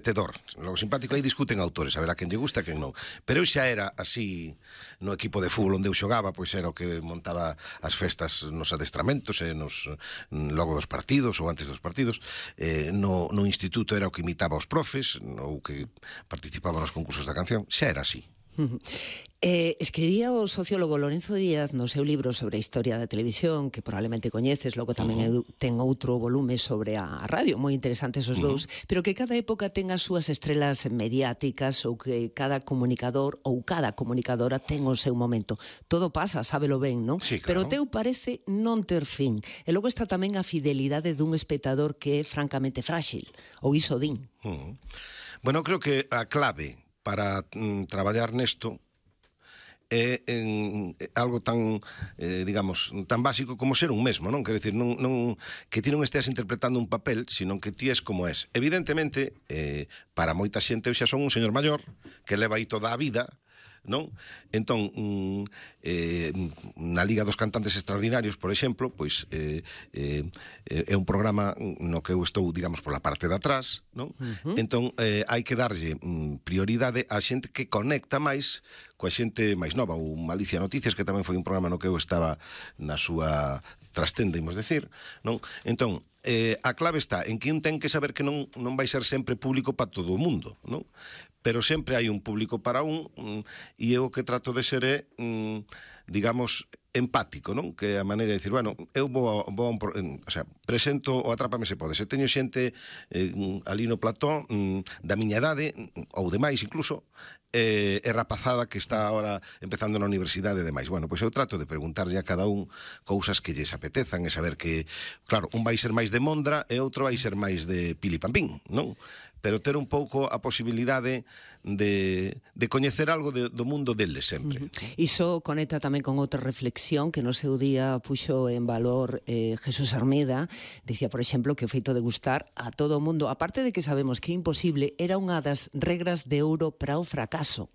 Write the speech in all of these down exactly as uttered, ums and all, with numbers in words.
Tedor, logo simpático, aí discuten autores, a ver a quen lle gusta, a quen non. Pero eu xa era así no equipo de fútbol onde eu xogaba, pois era o que montaba as festas nos adestramentos, e nos logo dos partidos ou antes dos partidos. Eh, no, no instituto era o que imitaba os profes, ou que participaba nos concursos da canción, xa era así. Eh, escribía o sociólogo Lorenzo Díaz no seu libro sobre a historia da televisión, que probablemente coñeces, logo tamén uh -huh. ten outro volume sobre a radio, moi interesantes os dous, uh -huh. pero que cada época ten as súas estrelas mediáticas, ou que cada comunicador ou cada comunicadora ten o seu momento. Todo pasa, sábelo ben, non? Sí, claro. Pero o teu parece non ter fin. E logo está tamén a fidelidade dun espectador que é francamente frágil, ou iso din. Uh -huh. Bueno, creo que a clave para mm, traballar nesto é en, algo tan, eh, digamos, tan básico como ser un mesmo, non? Quero dicir, non, non, que ti non esteas interpretando un papel, sino que ti és como és. Evidentemente, eh, para moita xente eu xa son un señor maior que leva aí toda a vida, non? Entón, mm, eh, na Liga dos Cantantes Extraordinarios, por exemplo, pois eh, eh, é un programa no que eu estou, digamos, pola parte de atrás, non? Uh -huh. Entón, eh, hai que darlle mm, prioridade á xente que conecta máis coa xente máis nova. Ou Malicia Noticias, que tamén foi un programa no que eu estaba na súa trastenda, imos decir, non? Entón, eh, a clave está en que un ten que saber que non, non vai ser sempre público para todo o mundo, non? Pero sempre hai un público para un, e eu o que trato de ser é, digamos, empático, non? Que a maneira de dicir, bueno, eu vou, vou a un, o sea, presento o Atrápame se pode. Se teño xente eh, ali no plató mm, da miña idade, ou demais incluso, eh, e rapazada que está agora empezando na universidade e demais. Bueno, pois eu trato de preguntarlle a cada un cousas que lles apetezan e saber que, claro, un vai ser máis de Mondra e outro vai ser máis de Pili Pampín, non? Pero ter un pouco a posibilidade de, de coñecer algo de, do mundo deles sempre. Uh-huh. Iso conecta tamén con outra reflexión que no seu día puxo en valor eh, Jesús Armeda. Dicía, por exemplo, que o feito de gustar a todo o mundo, aparte de que sabemos que é imposible, era unha das regras de ouro para o fracaso.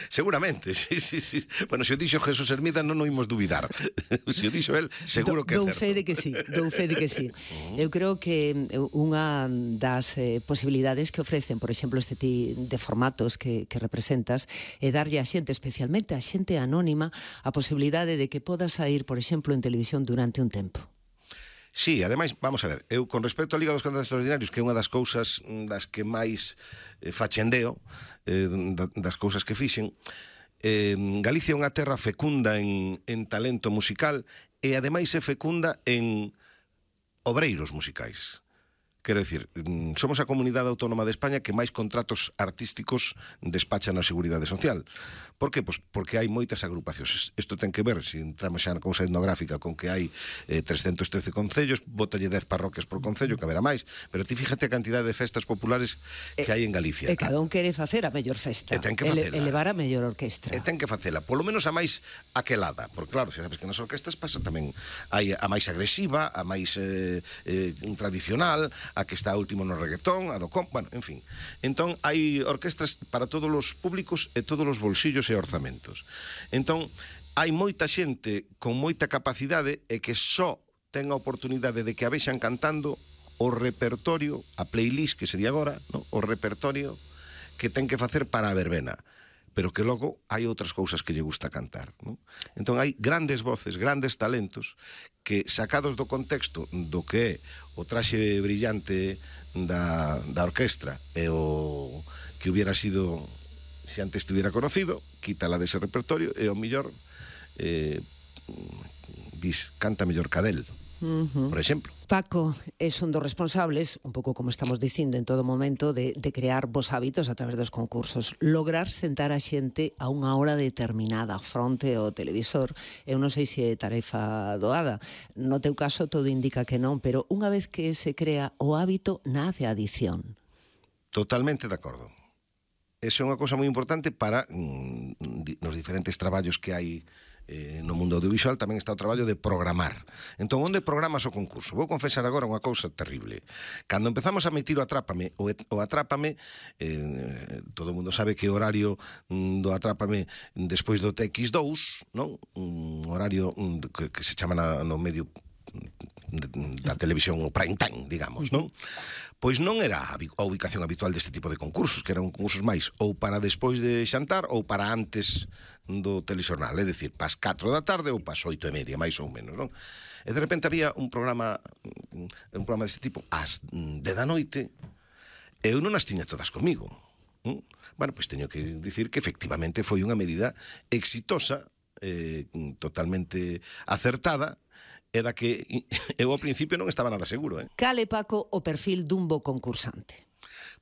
Seguramente, sí, sí, sí. Bueno, se o dixo Jesús Hermida non o imos duvidar. Se o dixo el, seguro que é certo. Dou fe de que sí, dou fe de que sí. Uh-huh. Eu creo que unha das eh, posibilidades que ofrecen, por exemplo, este tipo de formatos que, que representas, é darlle a xente, especialmente a xente anónima, a posibilidade de que poda sair, por exemplo, en televisión durante un tempo. Sí, ademais, vamos a ver, eu con respecto á Liga dos Cantantes Extraordinarios, que é unha das cousas das que máis eh, fachendeo, eh, das cousas que fixen, eh, Galicia é unha terra fecunda en, en talento musical e ademais é fecunda en obreiros musicais. Quero dicir, somos a comunidade autónoma de España que máis contratos artísticos despacha na Seguridade Social. Por que? Pois porque hai moitas agrupacións. Isto ten que ver, se entramos xa na cousa etnográfica, con que hai eh, trescentos trece concellos, bótalle dez parroquias por concello, que haberá máis, pero ti fíjate a cantidade de festas populares que hai en Galicia. E cada un quere facer a mellor festa, e ten que facela. Elevar a mellor orquestra. E ten que facela, polo menos a máis aquelada, porque claro, xa sabes que nas orquestas pasa tamén, hai a máis agresiva, a máis eh, eh, tradicional, a que está último no reggaetón, a do com, bueno, en fin. Entón, hai orquestas para todos os públicos e todos os bolsillos e orzamentos. Entón, hai moita xente con moita capacidade e que só ten a oportunidade de que a vexan cantando o repertorio, a playlist que sería agora, ¿no? O repertorio que ten que facer para a verbena, pero que logo hai outras cousas que lle gusta cantar, ¿no? Entón hai grandes voces, grandes talentos que, sacados do contexto do que é o traxe brillante da, da orquestra e o que hubiera sido se antes estuviera conocido, quítala dese repertorio e o millor eh, dis, canta mellor cadel. Uh-huh. Por exemplo. Paco, es un dos responsables, un pouco como estamos dicindo en todo momento, de, de crear bons hábitos a través dos concursos. Lograr sentar a xente a unha hora determinada fronte ao televisor. Eu non sei se é tarefa doada. No teu caso todo indica que non, pero unha vez que se crea o hábito, nace a adición. Totalmente de acordo. Eso é unha cousa moi importante para mm, nos diferentes traballos que hai Eh, no mundo audiovisual. Tamén está o traballo de programar. Entón, onde programas o concurso? Vou confesar agora unha cousa terrible. Cando empezamos a emitir o Atrápame, o, o Atrápame, eh, todo o mundo sabe que o horario mm, do Atrápame despois do T X dous, non? Un horario mm, que, que se chama na, no medio da televisión o prime time, digamos, non? Pois non era a ubicación habitual deste tipo de concursos, que eran concursos máis ou para despois de xantar ou para antes do telexornal, é dicir, pas catro da tarde ou pas oito e media, máis ou menos, non? E de repente había un programa un programa deste tipo ás de da noite e eu non as tiña todas comigo. ¿Mm? Bueno, pois teño que dicir que efectivamente foi unha medida exitosa, eh, totalmente acertada, e da que eu ao principio non estaba nada seguro. Eh? Cale, Paco, o perfil dun bo concursante?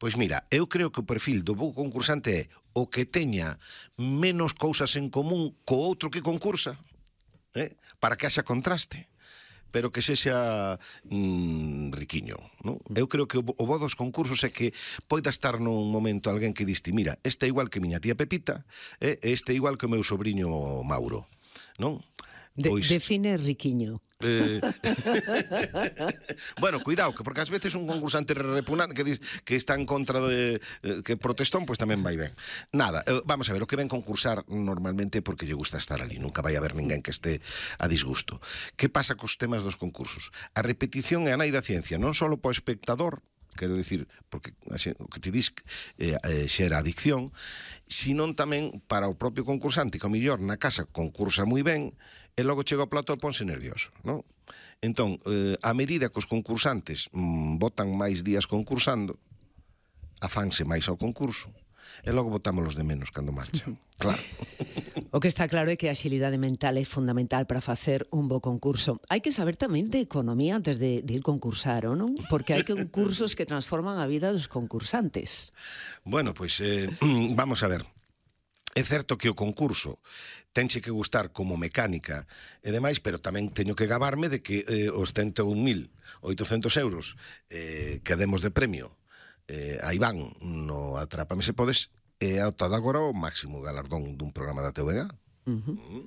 Pois mira, eu creo que o perfil do bo concursante é o que teña menos cousas en común co outro que concursa, eh? Para que haxa contraste, pero que sexa mm, riquiño, non? Eu creo que o, o bo dos concursos é que poida estar nun momento alguén que diste, mira, este é igual que miña tía Pepita, eh? Este é igual que o meu sobrinho Mauro, non? Pois, de, define riquiño. Eh... bueno, cuidado, que porque ás veces un concursante repugnante que, dis, que está en contra de eh, que protestón, pois pues tamén vai ben. Nada, eh, vamos a ver, o que ven concursar normalmente porque lle gusta estar ali, nunca vai haber ninguén que este a disgusto. Que pasa cos temas dos concursos? A repetición é a nai da ciencia, non só para o espectador, quero dicir, porque o que te dis eh, eh, xera adicción, senón tamén para o propio concursante, que ao millor na casa concursa moi ben e logo chega ao plató e ponse nervioso, non? Entón, eh, a medida que os concursantes mmm, botan máis días concursando, afanse máis ao concurso, e logo botámolos de menos cando marchan, claro. O que está claro é que a axilidade mental é fundamental para facer un bo concurso. Hai que saber tamén de economía antes de, de ir concursar, ou non? Porque hai concursos que transforman a vida dos concursantes. Bueno, pois, eh, vamos a ver. É certo que o concurso tenche que gustar como mecánica e demais, pero tamén teño que gabarme de que eh, os cento un mil oitocentos euros eh, que demos de premio eh, a Iván no Atrápame se podes é ata agora o máximo galardón dun programa da T V G. Uh-huh. Uh-huh.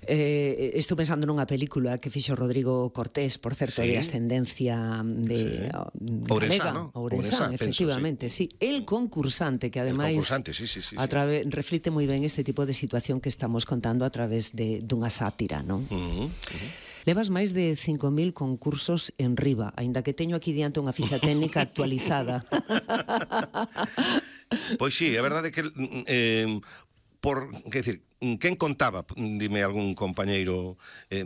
Eh, estou pensando nunha película que fixo Rodrigo Cortés, por certo, sí, de ascendencia de sí. Ourensa, ¿no? Ourensa, efectivamente, penso, sí. sí. El concursante, que ademais concursante, sí, sí, sí, a través, reflite moi ben este tipo de situación que estamos contando a través de dunha sátira, non? Uh-huh. Uh-huh. Levas máis de cinco mil concursos en riba, aínda que teño aquí diante unha ficha técnica actualizada. Pois sí, a verdade é que eh, por, que decir, quen contaba, dime algún compañeiro, eh,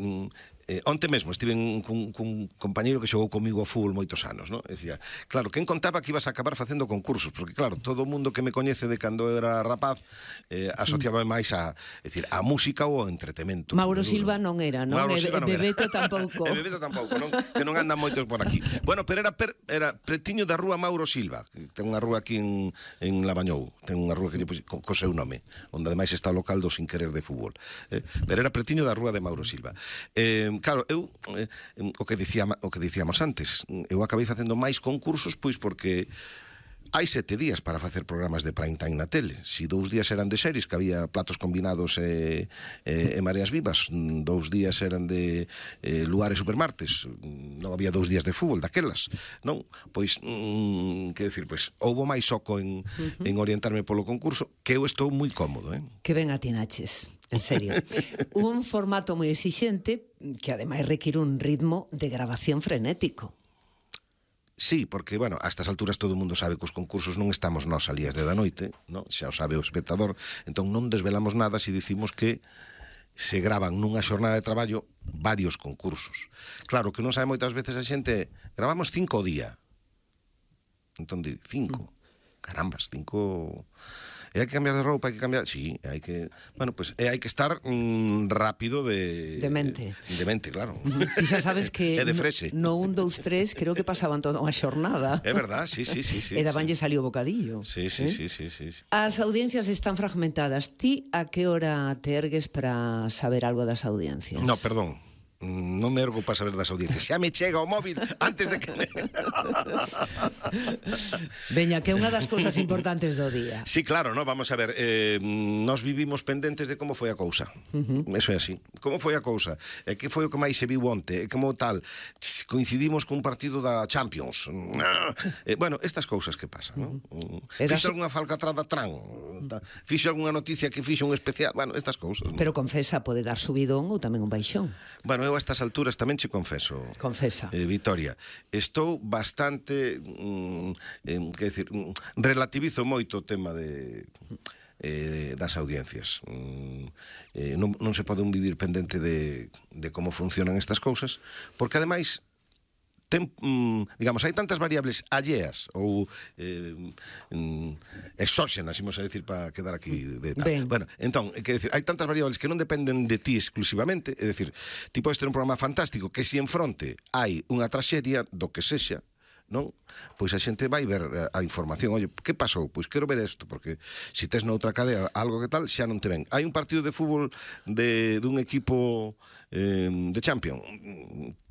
eh, onte mesmo estive cun, cun compañeiro que xogou comigo ao fútbol moitos anos, non? Decía, claro, quen contaba que ibas a acabar facendo concursos, porque claro, todo o mundo que me coñece de cando era rapaz eh, asociaba máis a, decir, a música ou ao entretemento. Mauro Silva non era, non? Mauro Silva non era. Bebeto tampouco. E Bebeto tampouco, non? Que non andan moitos por aquí. Bueno, pero era, per, era pretiño da rúa Mauro Silva, que ten unha rúa aquí en, en Lavañou, ten unha rúa que lle pus, co, co seu nome, onde ademais está o local do Sin Querer de fútbol. Eh, pero era pretiño da rúa de Mauro Silva. Eh, claro, eu eh, o que dicía, o que dicíamos antes, eu acabei facendo máis concursos pois porque hai sete días para facer programas de prime time na tele. Si dous días eran de series, que había platos combinados e, e, e mareas vivas, dous días eran de e, lugares supermartes, non había dous días de fútbol daquelas, non? Pois, mm, que decir, pois, houbo máis soco en, uh-huh. en orientarme polo concurso, que eu estou moi cómodo, eh? Que ben atinaches, en serio. Un formato moi exixente, que ademais require un ritmo de grabación frenético. Sí, porque, bueno, a estas alturas todo o mundo sabe que os concursos non estamos nós a lías de da noite, non? Xa o sabe o espectador, entón non desvelamos nada se dicimos que se graban nunha xornada de traballo varios concursos. Claro, que non sabe moitas veces a xente, gravamos cinco o día. Entón, di, cinco. Carambas, cinco... E hai que cambiar de roupa, hai que cambiar... Sí, hai que... Bueno, pues e hai que estar mm, rápido de... De mente. De mente, claro. E xa sabes que... É de frese. No un, dous, tres, creo que pasaban toda unha xornada. É verdad, sí, sí, sí. sí e dabanlle sí. salió o bocadillo. Sí, sí, eh? sí, sí, sí. As audiencias están fragmentadas. Ti a que hora te ergues para saber algo das audiencias? No, perdón. Non me ergo para saber das audiencias. Xa me chega o móvil antes de que... Veña, que é unha das cousas importantes do día. Sí, claro, no, vamos a ver, eh, nos vivimos pendentes de como foi a cousa. Uh-huh. Eso é así. Como foi a cousa? E que foi o que máis se viu onte? E como tal? Coincidimos cun partido da Champions. Eh, bueno, estas cousas que pasan, non? Uh-huh. Fixo alguna falcatrada tran? Fixo alguna noticia que fixo un especial? Bueno, estas cousas. Pero confesa, pode dar subidón ou tamén un baixón. Bueno, eu eu a estas alturas tamén che confeso, Confesa. eh, Vitoria, estou bastante, mm, eh, que decir, mm, relativizo moito o tema de... Eh, das audiencias. Mm, eh, non, non se pode un vivir pendente de, de como funcionan estas cousas, porque ademais ten, mm, digamos, hai tantas variables alleas ou eh, mm, exóxenas, imos a decir, para quedar aquí de tal. Ben. Bueno, entón, quer decir, hai tantas variables que non dependen de ti exclusivamente, é dicir, ti podes ter un programa fantástico que si en fronte hai unha traxedia do que sexa, non? Pois a xente vai ver a información. Oye, que pasou? Pois quero ver isto, porque se tes noutra cadea algo que tal, xa non te ven. Hai un partido de fútbol de dun equipo eh, de Champions,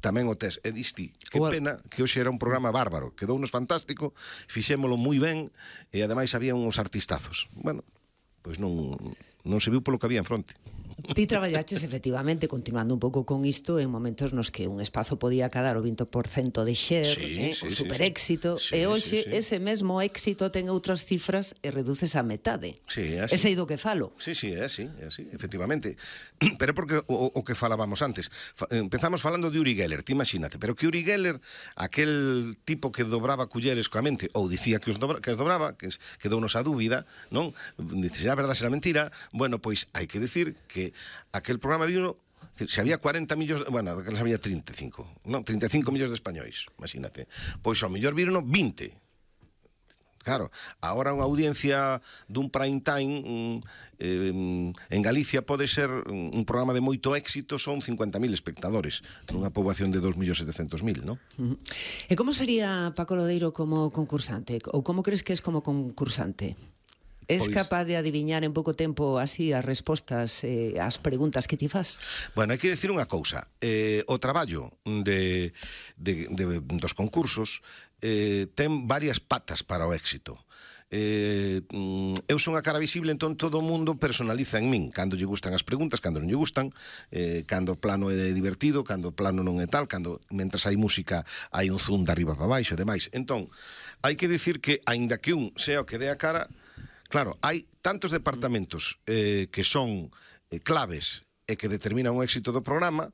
tamén o tes, e disti, que pena que hoxe era un programa bárbaro, quedounos fantástico, fixémolo moi ben, e ademais había uns artistazos. Bueno, pois non, non se viu polo que había en fronte. Ti traballaches efectivamente, continuando un pouco con isto, en momentos nos que un espazo podía cadar o vinte por cento de share, sí, eh, sí, o sí, super sí. éxito, Sí, e hoxe sí, sí. ese mesmo éxito ten outras cifras e reduces a metade. Sí, é así. Ese é do que falo. Sí, sí, é así, é así, efectivamente. Pero é porque o, o que falábamos antes, fa, empezamos falando de Uri Geller, ti imagínate, pero que Uri Geller, aquel tipo que dobraba culleres coa mente, ou dicía que os dobra, que as dobraba, que quedounos a dúbida, non? Dice, a verdade será mentira. Bueno, pois hai que decir que aquel programa vi uno, se había cuarenta millóns, bueno, que había trinta e cinco, non, trinta e cinco millóns de españois, imagínate. Pois ao mellor viron vinte. Claro, agora unha audiencia dun prime time mm, eh, en Galicia pode ser un programa de moito éxito, son cincuenta mil espectadores nunha poboación de dos millóns setecentos mil, non? Uh -huh. E como sería Paco Lodeiro como concursante? Ou como crees que es como concursante? Es Pois... capaz de adiviñar en pouco tempo así as respostas eh, ás preguntas que ti fas? Bueno, hai que decir unha cousa. Eh, o traballo de, de, de, dos concursos eh, ten varias patas para o éxito. Eh, eu son a cara visible, entón todo o mundo personaliza en min cando lle gustan as preguntas, cando non lle gustan, eh, cando o plano é divertido, cando o plano non é tal, cando mentras hai música hai un zoom de arriba para baixo e demais. Entón, hai que decir que aínda que un sea o que dé a cara, claro, hai tantos departamentos eh, que son eh, claves e que determinan o éxito do programa,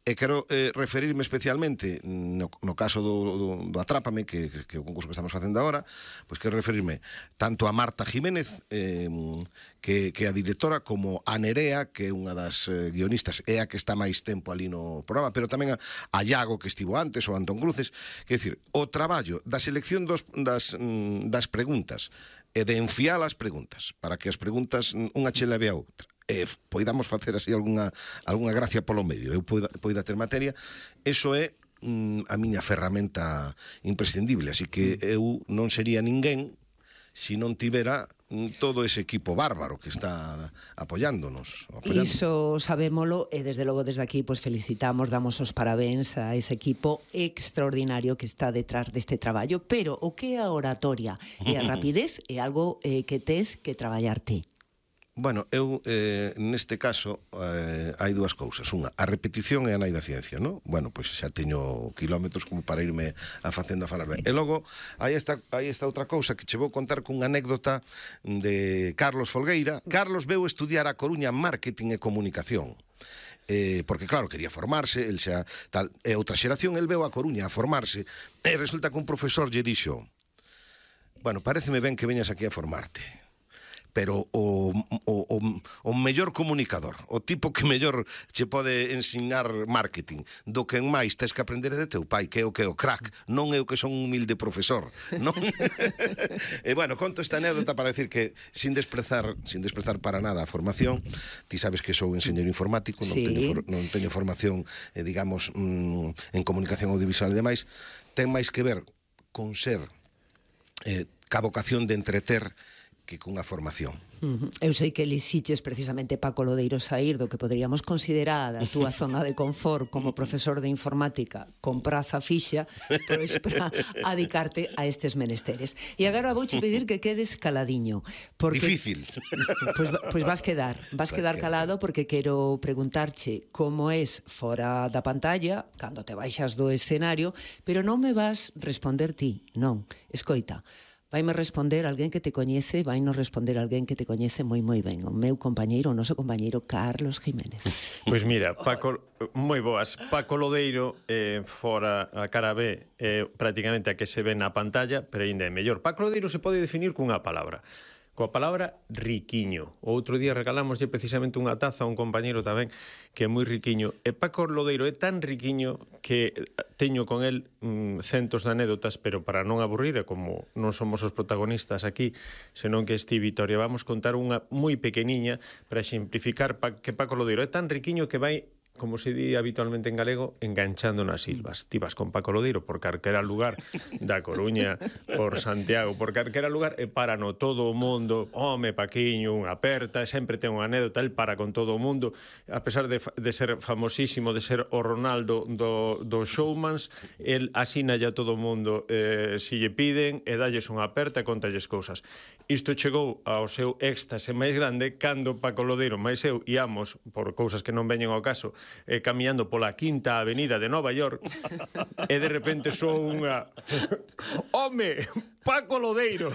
e quero eh, referirme especialmente no, no caso do, do, do Atrápame, que, que é o concurso que estamos facendo agora, pois quero referirme tanto a Marta Jiménez, eh, que, que é a directora, como a Nerea, que é unha das eh, guionistas, é a que está máis tempo ali no programa, pero tamén a, a Iago, que estivo antes, ou Antón Cruces. Quer dicir, o traballo da selección dos, das, das preguntas e de enfiar as preguntas para que as preguntas unha che leve a outra e poidamos facer así algunha, algunha gracia polo medio, eu poida, poida ter materia, eso é mm, a miña ferramenta imprescindible, así que eu non sería ninguén se non tivera todo ese equipo bárbaro que está apoyándonos. apoyándonos. Iso sabémolo e desde logo desde aquí pues felicitamos, damos os parabéns a ese equipo extraordinario que está detrás deste traballo, pero o que é a oratoria e a rapidez é algo eh, que tes que traballar ti. Bueno, eu, eh, neste caso, eh, hai dúas cousas. Unha, a repetición é a nai da ciencia, non? Bueno, pois xa teño kilómetros como para irme a facendo a falar ben. E logo, hai esta, hai esta outra cousa que che vou contar cunha anécdota de Carlos Folgueira. Carlos veu estudiar a Coruña Marketing e Comunicación. Eh, porque claro, quería formarse, el xa tal, e outra xeración, el veu a Coruña a formarse, e resulta que un profesor lle dixo: bueno, paréceme ben que veñas aquí a formarte, pero o, o, o, o mellor comunicador, o tipo que mellor che pode ensinar marketing, do que en máis tes que aprender de teu pai, que é o que é o crack, non é o que son un humilde profesor, non? E bueno, conto esta anécdota para decir que sin desprezar, sin desprezar para nada a formación, ti sabes que sou enxeñeiro informático, non, sí. teño, for, non teño formación, eh, digamos, mm, en comunicación audiovisual e demais, ten máis que ver con ser eh, ca vocación de entreter que cunha formación. Uh -huh. Eu sei que elixiches precisamente Paco Lodeiro saír do que poderíamos considerar a túa zona de confort como profesor de informática con praza fixa, pois para adicarte a estes menesteres. E agora vouche pedir que quedes caladiño, porque difícil. Pois, pois vas quedar, vas quedar calado, porque quero preguntarche como es fora da pantalla cando te baixas do escenario, pero non me vas responder ti, non. Escoita, Vaime responder alguén que te coñece, vai nos responder alguén que te coñece moi moi ben, o meu compañeiro, o noso compañeiro Carlos Jiménez. Pois mira, Paco, moi boas. Paco Lodeiro, eh, fora a cara B, eh, prácticamente a que se ve na pantalla, pero ainda é mellor. Paco Lodeiro se pode definir cunha palabra. Coa palabra riquiño. O outro día regalámoslle precisamente unha taza a un compañeiro tamén que é moi riquiño. E Paco Lodeiro é tan riquiño que teño con el mm, centos de anécdotas, pero para non aburrir, e como non somos os protagonistas aquí, senón que este Vitoria, vamos contar unha moi pequeniña para exemplificar pa, que Paco Lodeiro é tan riquiño que vai, como se di habitualmente en galego, enganchando nas silvas. Ti vas con Paco Lodeiro por calquera lugar da Coruña, por Santiago, por calquera lugar, e para no todo o mundo, home, Paquiño, unha aperta, sempre ten unha anécdota, el para con todo o mundo, a pesar de, de ser famosísimo, de ser o Ronaldo do, do showmans, el asina ya todo o mundo, eh, si lle piden, e dalles unha aperta e contalles cousas. Isto chegou ao seu éxtase máis grande cando Paco Lodeiro máis eu íamos, por cousas que non veñen ao caso, eh, camiñando pola Quinta Avenida de Nova York, e de repente sou unha home, Paco Lodeiro,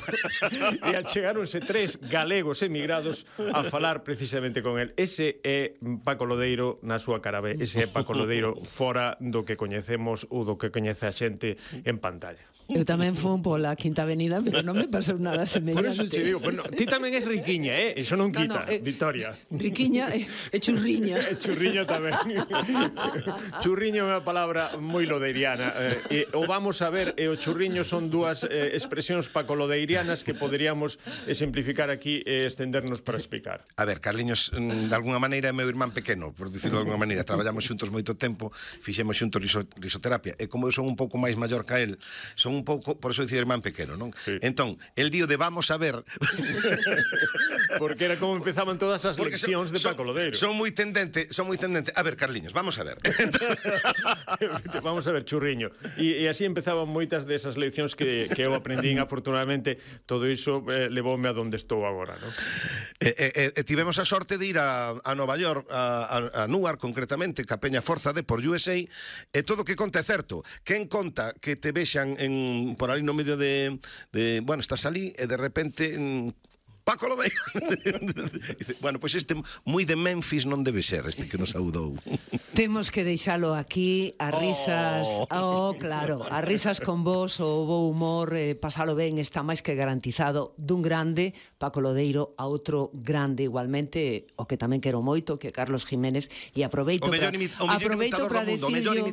e achegáronse tres galegos emigrados a falar precisamente con el. Ese é Paco Lodeiro na súa cara B, ese é Paco Lodeiro fora do que coñecemos ou do que coñece a xente en pantalla. Eu tamén fun pola Quinta Avenida, pero non me pasou nada semellante. Por eso te digo, pues no, ti tamén és riquiña, eh? Iso non quita, no, no, eh, Victoria. Riquiña e, e churriña. E churriña tamén. Churriño é unha palabra moi lodeiriana. Eh, e, o vamos a ver, e o churriño son dúas eh, expresións pacolodeirianas que poderíamos exemplificar aquí e estendernos para explicar. A ver, Carliños, de alguna maneira é meu irmán pequeno, por dicirlo de alguna maneira. Traballamos xuntos moito tempo, fixemos xuntos riso, risoterapia, e como eu son un pouco máis maior que el, son un pouco, por eso dicir irmán pequeno, non? Sí. Entón, el dío de vamos a ver... Porque era como empezaban todas as porque leccións son, de Paco Lodeiro. Son moi tendente, son moi tendente. A ver, Carliños, vamos a ver. Vamos a ver, churriño. E, e así empezaban moitas desas leccións que, que eu aprendín, afortunadamente, todo iso eh, levoume a donde estou agora, non? E, e, e tivemos a sorte de ir a, a Nova York, a, a, a Newark, concretamente, ca Peña Forza de por U S A, e todo o que conta é certo. Quen conta que te vexan en, por ali no medio de, de... Bueno, estás ali e de repente... En, Paco Lodeiro. Dice, bueno, pois pues este moi de Memphis non debe ser este que nos saudou. Temos que deixalo aquí, as risas, oh, oh claro, as risas con vos, o bo humor, eh, pasalo ben, está máis que garantizado dun grande, Paco Lodeiro, a outro grande igualmente, o que tamén quero moito, que Carlos Jiménez, e aproveito para aproveito para decirlo,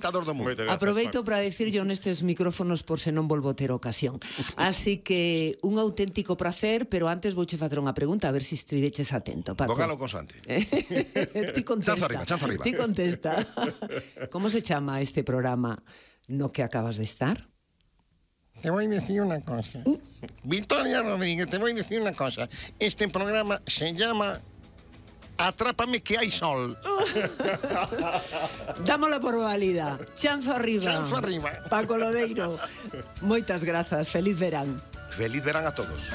aproveito para decirlo nestes micrófonos por se non volvo ter ocasión. Así que un auténtico placer, pero antes vouche facer unha pregunta, a ver se si estiveches atento, Paco. Bogalo consante. Ti contesta. Chanza arriba, chanza arriba. Ti contesta. Como se chama este programa no que acabas de estar? Te voy a decir una cosa. ¿Mm? Victoria Rodríguez, te voy a decir una cosa. Este programa se llama Atrápame que hai sol. Dámola por válida. Chanzo arriba. Chanzo arriba. Paco Lodeiro. Moitas grazas. Feliz verán. Feliz verán a todos.